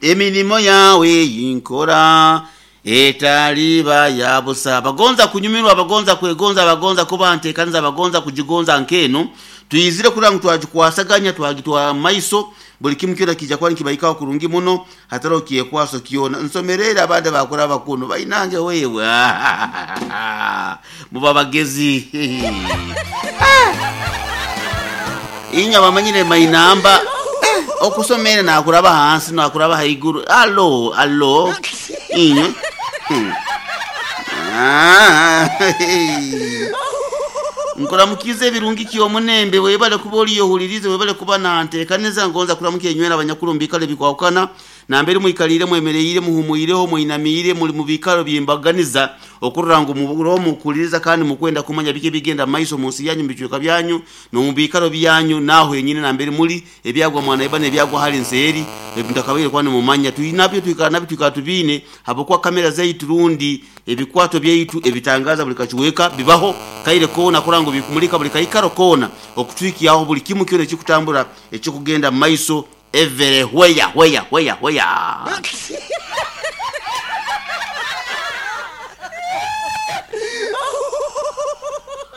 Emirimo yawe yinkora etaliba ya busa. Abagonza kunyumirwa, abagonza kwegonza, abagonza kuba ntekaniza, abagonza kujigonza nkeno tuyizire kurora ngu twagikwasaganya, twagitwara mu maiso. Buli kimu kyona kijja kuba nikibaikaho kurungi muno, hatariho kyekwaso kyona. Nsomerere abandi bakora bakuno bainange wewe muba bagezi. Inywe abamanyire mainamba okusomere nakuraba hansi nakuraba haiguru. Alo alo inywe. Nkuramukize ebirungi kyomunembe, webale kuba oliyohulirize, webale kuba nantekaniza. Ngonza kuramukia inywena abanyakuru mubikaro ebikwahukana nambere mwikalire, mwemereire, muhumwireho, mwinamiire, muli mu bikaro byembaganiza okurora ngu muroho mukuliriza kandi mukwenda kumanya biki ebigenda mumaiso munsi yanyu, mubicweka byanyu n'omubikaro byanyu, naho henyini nambere muli ebyagwa mwanaiba n'ebyagwa hali nseeri ebitakabaire kuba nimumanya. Twinabyo twikara nabyo, twikara tubiine habwokuba kamera zaitu rundi ebikwato byaitu ebitangaza buli kakiweka bibaho kaire koona kurora ngu bikumulika buli kaikaro koona okutwikyaho buli kimu kyona ekikutambura ekikugenda mumaiso everywhere where where where.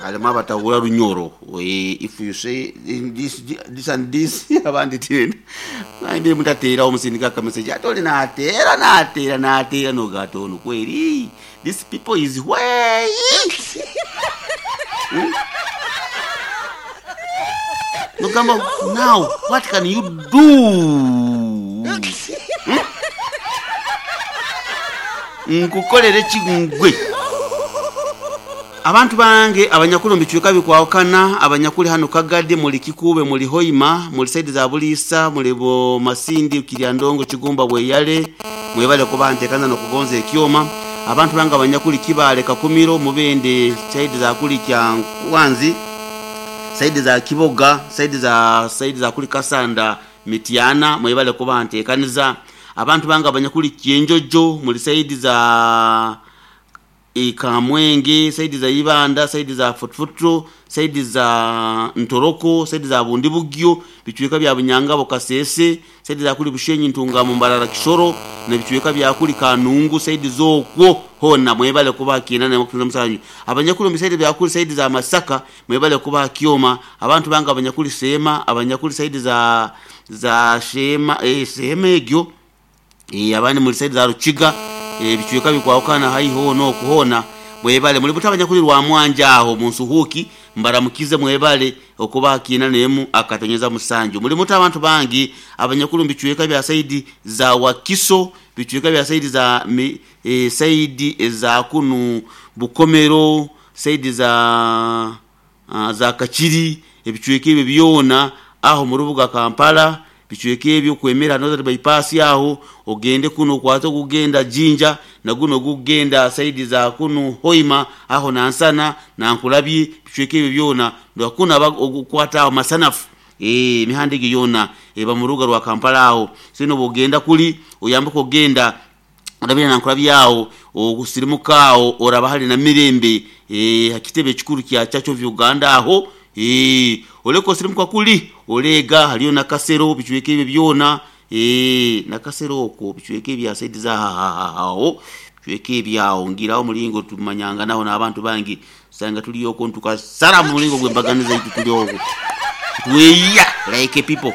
Halimu abatahura Runyoro. If you say this, this and this abandi tena naye mutateerawo musindika akameseji ate oli nateera nateera nateera nogata ono kweri this people is way. Nogamba now what can you do? Nkukolere ki gwe? Abantu bange abanyakuli omu bicweka bikwahukana, abanyakuli hanu Kagadi, muli Kikuube, muli Hoima, muli saidi za Buliisa, muli bo Masindi, Kiryandongo, Kigumba, Bweyale, mwebale kuba ntekaniza n'okugonza ekyoma. Abantu bange abanyakuli Kibaale, Kakumiro, Mubende, saidi za kuli Kyankwanzi, saidi za Kiboga, saidi za kuli Kasanda, Mityana, mwebale kuba ntekaniza. Abantu bange abanyakuli Kyenjojo, muli saidi za Kamwenge, saidi za Ibanda, saidi za Futfutro, saidi za Ntoroko, saidi za Bundibugyo, bicweka bya Bunyangabo, Kasese, saidi za kuli Bushenyi, Ntungamo, Mbarara, Kisoro, na bicweka bya kuli Kanungu, saidi zokwo hona mwebale kuba kinana na musanyu. Abanyakuli mu saidi bya kuli saidi za Masaka mwebale kuba kyoma. Abantu bange abanyakuli Sema, abanyakuli saidi za Shema, Sema egyo, abandi muri saidi za Rukiga, ebicweka bikwahukana haiho nokuhona mwebale. Muli buta abanyakuli rwa Mwanja aho munsuhuki mbaramukize, mwebale okuba kina nemu akatonyeza musanju. Muli muta abantu bangi abanyakuli mu bicweka bya saidi za Wakiso, bicweka bya saidi za saidi za kunu Bukomero, saidi za Kakiri, ebicweka ebyo byona aho mu rubuga Kampala, bicweka ebyo kwemera Northern Bypass aho ogende kuno okwate ogugenda Jinja na guno gugenda saidi za kunu Hoima aho Nansana Nankulabye, bicweka ebyo byona ndakuna ogukwata aho Masanafu, emihanda egyo yona eba mu rubuga rwa Kampala aho. Sino bwogenda kuli oyambuka ogenda orabira Nankulabye aho osirimuka aho oraba hali na Mirembe, hakitebe ekikuru kya Church of Uganda aho, oleka osirimuka kuli oleega haliyo Nakasero, bicweka ebyo byona, Nakasero okwo bicweka ebya saidi za aho bicweka ebyaho ngiraho mulingo tumanyanga naho n'abantu bangi sanga tuliyo okwo ntukasara mu mulingo gw'embaganiza itu tuli okwo tweya like people.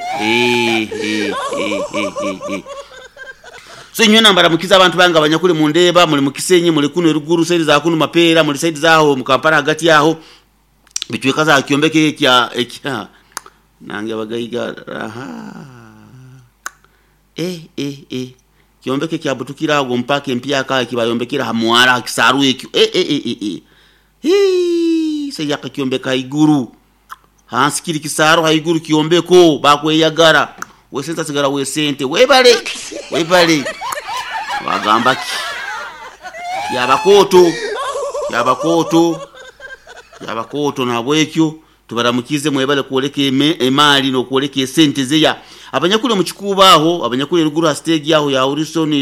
So inywe nambaramukiza abantu bange abanyakuli mundeba, muli mukisenyi, muli kuno eruguru saidi za kunu Mapeera, muli saidi zaho mu Kampala hagati aho bicweka za kyombeko ekya ekya nange abagaiga aha kyombeko ekyabutukira ago mpaka empyaka ekibayombekera ha mwara hakisaru ekyo hii seyaka kyombeka haiguru hansi kiri kisaro haiguru kyombeko bakweyagara wesente asigara wesente webale webale bagamba ki yabakoto yabakoto yabakoto nabwekyo tubaramukize mwebale kwoleka emali n'okwoleka esente zeya abanyakuli mu kikuubo aho abanyakuli eruguru ha stage aho ya Wilson.